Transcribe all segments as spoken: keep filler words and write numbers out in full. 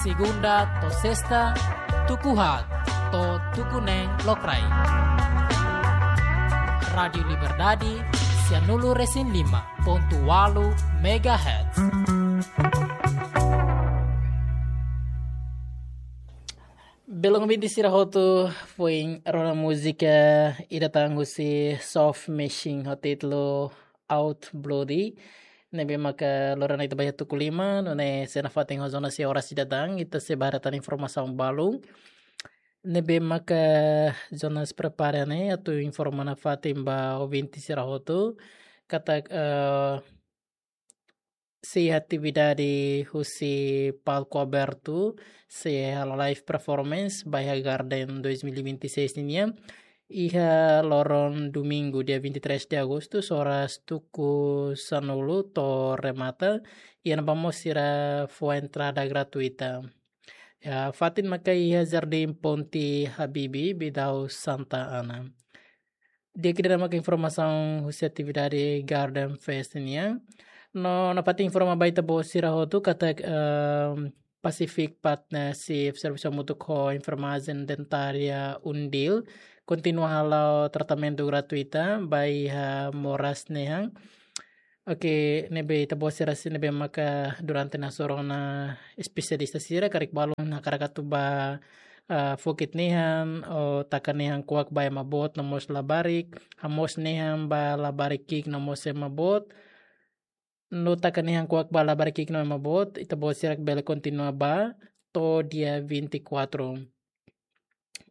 Segunda to'o sesta, tuku haat to'o tuku neen lokraik. Rádiu Liberdade, sianulu-resin-lima pontu ualu megahertz. Belun ouvinte sira hotu, foin rona múzika ida tan husi Soft Machine ho títulu Out Bloody. Ne'ebé maka loron ita ba iha tuku lima, nune'e sei nafatin ho zona sei oras ida tan, ita sei ba haree tan informasaun balun. Ne'ebé maka Jonas prepara ne'e atu informa nafatin ba ouvinte sira hotu katak, eh, sei atividade husi palku abertu, sei halo live performance ba iha Garden dois mil e vinte e seis nian. Iha loron domingu, dia vinte e três de agosto, oras tuku sanulu to'o remata, iha ne'ebá mós sira fó entrada gratuita. Ya, fatin maka iha Jardim Ponte Habibie, Bidau Santa Ana. Di'ak, ida-ne'e maka informasaun husi atividade Garden Fest nian. No, nafatin informa ba ita-boot sira hotu katak, ehm, Pacific Partnership, servisu hamutuk ho enfermajen dentária UNDIL, kontinua hala'o tratamentu gratuita ba iha moras nehan. Oke, ne'ebé ita-boot sira sira ne'ebé maka durante nasoru ona espesialista sira, karik balun hakarak atu ba, ah, fokit nehan, ou taka nehan kuak ba ema boot no mós labarik, hamoos nehan ba labarik ki'ik no mós ema boot, no taka nehan kuak ba labarik ki'ik no ema boot, ita-boot sira bele kontinua ba to'o dia vinte e quatro.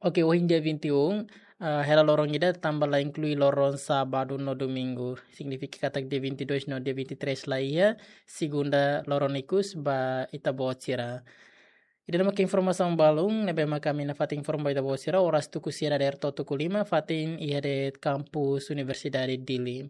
Oke, ohin dia vinte e um, ah, hela loron ida tanba la inklui loron sábadu no domingu. Signifika katak dia vinte e dois no dia vinte e três la iha, segunda loron ikus ba ita-boot sira. Ida-ne'e maka informasaun balun ne'ebé maka ami nafatin informa ba ita-boot sira, oras tuku sia dadeer to'o tuku lima, fatin iha de'it kampus Universidade Dili.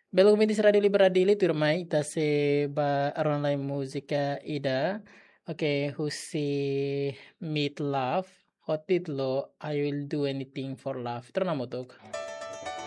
Belun ouvinte sira, Rádiu Liberdade Dili, tuirmai ita sei ba rona lai múzika ida. Oke, husi Meat Loaf, ho títulu I Will Do Anything for Love. Ita rona hamutuk.